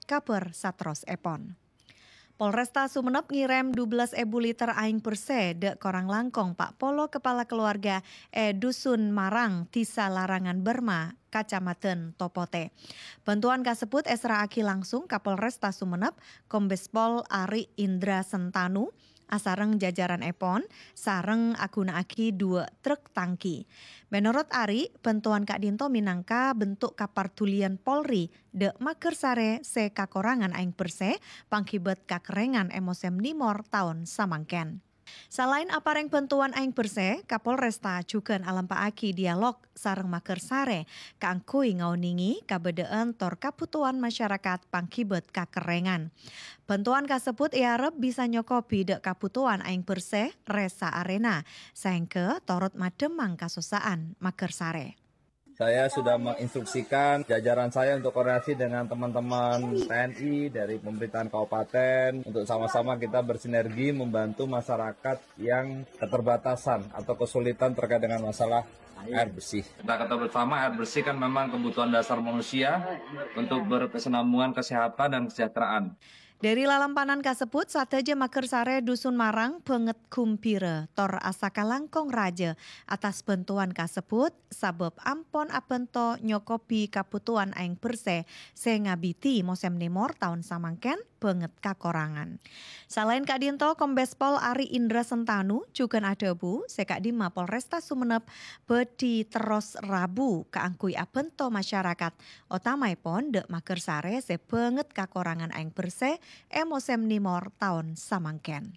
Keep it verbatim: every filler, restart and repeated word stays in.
kabhâr saterrossèpon. Polresta Sumenep ngèrèm dubellâs èbu liter aèng bersè dâ' korang langkong pa' polo kapala kalowarga è Dusun Marang, Dhisa Larangan Berma, Kacamadhân Topotè. Bhântowan kasebbhut èserra'aghi langsung ka Polresta Sumenep, Kombes Pol Ari Indra Sentanu, asareng jajaranèpon, sareng aghuna'aghi duwâ' trek tangki. Menorot Ari, bhântowan ka'dinto mènangka bentuk kapardhuliyân Polri dâ' Magersarè sè kakorangan aèng bersè pangghibât kakerrèngan è mosèm nèmor taon samangkèn. Salaèn aparèng bhântowan aèng bersè, Kapolresta jhughân alampa'aghi dialog sareng Magersarè kaangghuy ngaonèngè kabâdâ'ân tor kabhutowan masyarakat pangghibât kakerrèngan. Bhântowan kasebbhut èarep bisa nyokobhi dâ' kabhutowan aèng bersè rè-saarèna, saèngghâ torot maddhemmang kasossa'an Magersarè. Saya sudah menginstruksikan jajaran saya untuk koordinasi dengan teman-teman T N I dari pemerintahan kabupaten untuk sama-sama kita bersinergi membantu masyarakat yang keterbatasan atau kesulitan terkait dengan masalah air bersih. Kita ketahui bersama, air bersih kan memang kebutuhan dasar manusia untuk berkesinambungan kesehatan dan kesejahteraan. Dâri lalampanan kasebbhut, sadhâjâ Magersarè Dusun Marang bângèt ghumbhira tor asakalangkong rajâ attas bhântowan kasebbhut, sabâb ampon abhânto nyokobhi kabhutowan aèng bersè sè ngabidhi mosèm nèmor taon samangkèn bângèt kakorangan. Salaèn ka'dinto, Kombes Pol Ari Indra Sentanu jhughân adhâbu sè ka'dimma Polresta Sumenep bhâdhi terros rabu kaangghuy abhânto masyarakat, otamaèpon dâ' Magersarè sè bângèt kakorangan aèng bersè è mosèm nèmor taon samangkèn.